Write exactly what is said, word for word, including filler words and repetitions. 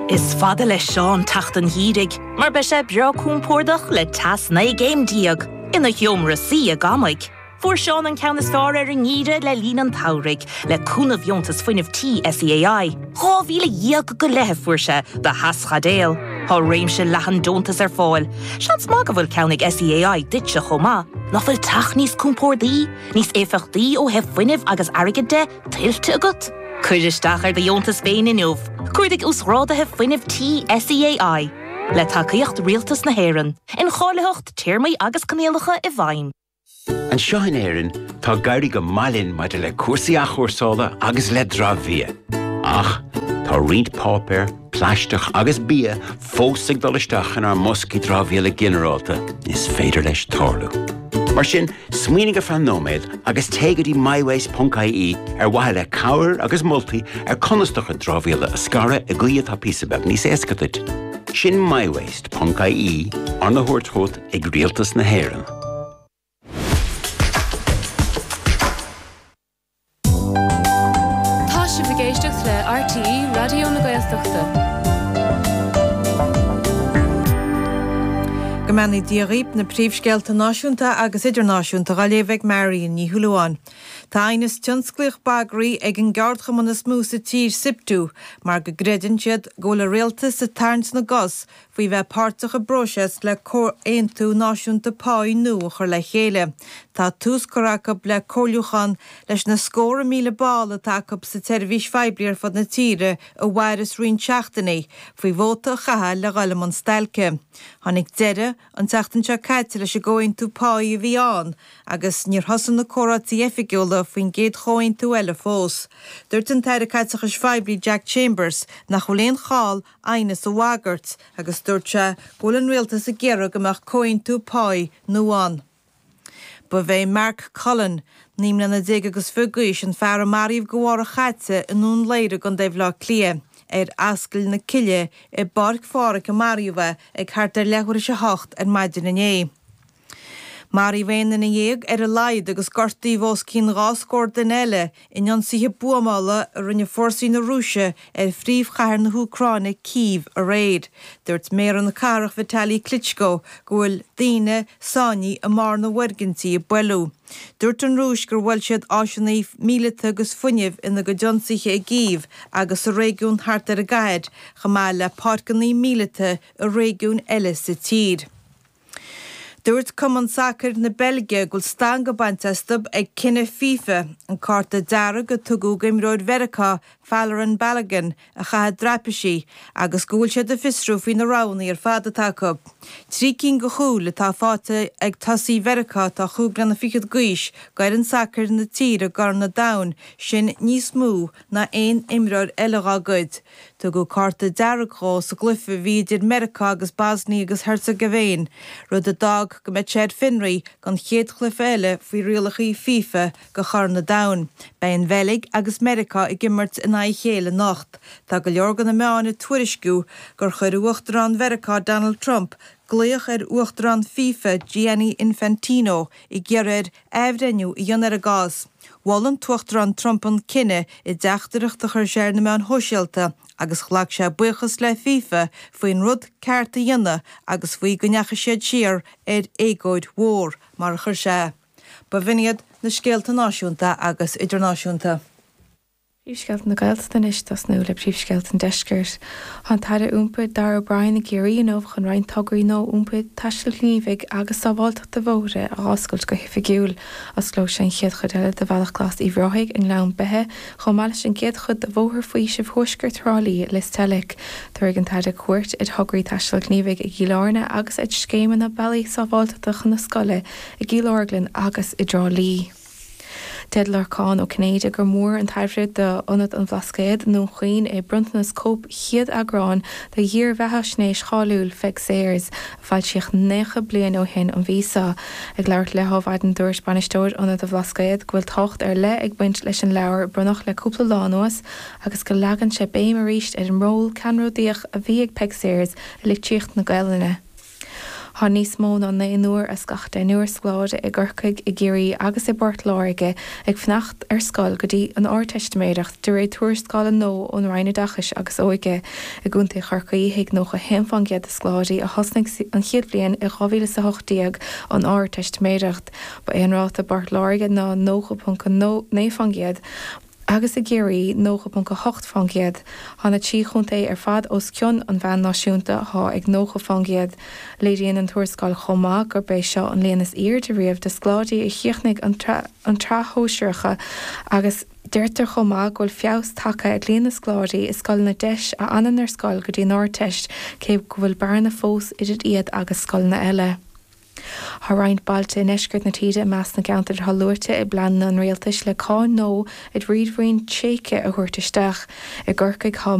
Is fada le Seán teacht an gheimhridh, mar beidh sé breá compordach le teas naoi gcéim déag ina sheomra suí i gCamaigh. Fuair Seán an ceann is fearr ar an ngeimhreadh le linn an tsamhraidh le cúnamh dheontas fuinnimh tí SEAI. Dhá mhíle dhéag go leith fuair sé do theaschaidéal. Tá réimse leathan deontas ar fáil. Seans maith go bhfuil ceann ag SEAI duitse chomh maith. Nach bhfuil teach níos compordaí, níos éifeachtaí ó thaobh fuinnimh agus airgid de tuillte agat? Cuir isteach ar do dheontas féin inniu, Cuardaigh uasghráduithe fuinnimh tí SEAI, le tacaíocht Rialtas na hÉireann, incháilitheacht téarmaí agus coinníollacha i bhfeidhm. Anseo in Éirinn tá ag éirí go maith linn maidir le cúrsaí athchúrsála agus le dramhbhia. Ach tá roinnt páipéar, plaisteach agus bia fós ag dul isteach inár mboscaí dramhaíola ginearálta is féidir leis tarlú. Mar sin, smaoinigh ar feadh nóiméad agus téigh go dtí mywaste.ie ar mhaithe le cabhair agus moltaí ar conas do chuid dramhaíola a scaradh i gcaoi atá píosa beag níos éasca duit. Sin mywaste.ie arna thabhairt chugat ag Rialtas na hÉireann. Tá sibh ag éisteacht le RTÉ Raidió na Gaeltachta. Go mbeannaí Dia dhaoibh na príomhscéalta náisiúnta agus idirnáisiúnta á léamh ag Marion Ní Shúilleabháin. Tá aighneas tionsclaíoch bagraithe ag an gceardchumann is mó sa tír SIPTU mar go gcreideann siad go bhfuil an rialtas ag tarraingt na gcos faoi bheith páirteach i bpróiseas le comhaontú náisiúnta páí nua a chur le chéile. Tá tús curtha acu le comhairliúchán leis na scórtha míle ball atá acu sa tseirbhís phoiblí ar fud na tíre a mhairfeas roinnt seachtainí faoi vóta a chaitheamh le dhul i mbun stailce. Tháinig deireadh an tseachtain seo caite leis an gcomhaontú páí a bhí ann agus níor thosaigh na comhráití oifigiúla faoin gcéad chomhaontú eile fós. Dúirt an tAire Caiteachais Phoiblí Jack Chambers nach bhfuil aon chall aighneas a bhagairt agus dúirt sé go bhfuil an rialtas ag iarraidh go mbeadh comhaontú páí nua ann. Ba é Mark Cullen, naoi mbliana déag agus fiche d'aois an fear a maraíodh go mhárach chaite i nDún Laoghaire i gContae Bhaile Átha Cliath ar Ascaill na Cille i bPáirc Phádraig a maraíodh é ag thart ar leathuair tar éis a hocht ar maidin inné. Maraíodh aon duine dhéag ar a laghad agus gortaíodh os cionn dhá scór duine eile in ionsaithe buamála a rinne fórsaí na Rúise ar phríomhchathair na hÚcráine Cív aréir. Dúirt méara na cathrach Vitaly Klitschko go bhfuil daoine sáinnithe i mbarr na bhfoirgintí i Belarus. Dúirt an Rúis gur bhuail siad áiseanna míleata agus fuinnimh ina gcuid ionsaithe i gCív agus sa réigiún thart ar an gcathair, chomh maith le páirceanna míleata i réigiúin eile sa tír. Dúirt Cumann Sacair na Beilge go bhfuil stangadh bainte astu ag cinneadh FIFA an cárta dearg a tugadh d'imreoir Mheiriceá Folarin Balogun a chaitheamh traipisí agus go bhfuil siad ag fiosrú faoi na roghanna ar fad atá acu. Trí cinn de chúil atá faighte ag tosaí Mheiriceá atá cúig bliana fichead d'aois d'fhoireann sacair na tíre i gCorn an Domhain sin níos mó ná aon imreoir eile dá gcuid. Tugadh cárta dearg dhó sa gcluiche a bhí idir Meiriceá agus Bosnia agus Herzegovina, rud a d'fhág go mbeidh sé ar fionraí don chéad chluiche eile faoi rialacha FIFA do Chorn an Domhain. Beidh an Bheilg agus Meiriceá ag imirt in aghaidh a chéile anocht. Tá go leor de na meáin ag tuairisciú gur chuir Uachtarán Mheiriceá Donald Trump glaoch ar Uachtarán FIFA Gianni Infantino ag iarraidh air athbhreithniú a dhéanamh ar an gcás. Mhol an tUachtarán Trump an cinneadh i dteachtaireacht a chuir sé ar na meáin shóisialta agus ghlac sé buíochas le FIFA faoin rud ceart a dhéanamh agus faoi go ndeachaigh siad siar ar éagóir mhór mar a chuir sé. Ba bh'in iad na scéalta náisiúnta agus idirnáisiúnta. Príomhscéalta na Gaeltachta anois tosnú le príomhscéalta an deiscirt. Tá an tAire Iompair Darragh O'Brien i gCiarraí inniu chun roinnt tograí nua iompair taistil ghníomhaigh agus sábháilteachta bóithre a oscailt go hoifigiúil. Osclóidh sé an chéad chuid eile de Bhealach Glas Uíbh Ráthaigh i nGleann Beithe, chomh maith leis an gcéad chuid de Bhóthar Faoisimh Thuaisceart Thrá Lí i Lios Teilg. Tabharfaidh an tAire cuairt ar thograí taistil ghníomhaigh i gCill Airne agus ar scéimeanna bealaí sábháilteachta chun na scoile i gCill Orglan agus i dTrá Lí. Deir Lorcán Ó Cinnéide gur mór an tairbhe d'Ionad an Bhlascaoid i nDún Chaoin é bronntanas cóip chéad eagrán de dhírbheathaisnéis cháiliúil Pheig Sayers, a foilsíodh nócha bliain ó shin an mhí seo. Ag labhairt le hAdhmhaidin dúirt bainisteoir Ionad an Bhlascaoid go bhfuil tábhacht ar leith ag baint leis an leabhar a bronnadh le cúpla lá anuas agus go leagann sé béim arís ar an ról ceannródaíoch a bhí ag Peig Sayers i litríocht na Gaelainne. Tá níos mó ná naonúr as gach deichniúr scoláire i gCorcaigh, i gCiarraí agus i bPort Láirge ag fanacht ar scoil go dtí an Ardteistiméireacht, de réir tuarascála nua ón Roinn Oideachais agus Óige. I gContae Chorcaí, thuig nócha haon fán gcéad de scoláirí a thosnaigh an chéad bhliain i dhá mhíle is a hocht déag an Ardteistiméireacht. Ba é an ráta i bPort Láirge ná nócha ponc naoi fán gcéad agus i gCiarraí nócha ponc a hocht fán gcéad. Tá na trí chontae ar fad os cionn an mheáin náisiúnta atá ag nócha fán gcéad. Léiríonn an tuarascáil chomh maith gurb é seo an líon is airde riamh de scoláirí a chríochnaigh an tsraith shóisearach agus deirtear chomh maith go bhfuil feabhas tagtha ar líon na scoláirí i scoileanna deis a fhanann ar scoil go dtí an Ardteist cé go bhfuil bearna fós idir iad agus scoileanna eile. Tá roinnt bailte i ndeisceart na tíre i measc na gceantar atá luaite i bpleananna an rialtais le cáin nua ar ríomhairí tréigthe a thabhairt isteach. I gCorcaigh tá.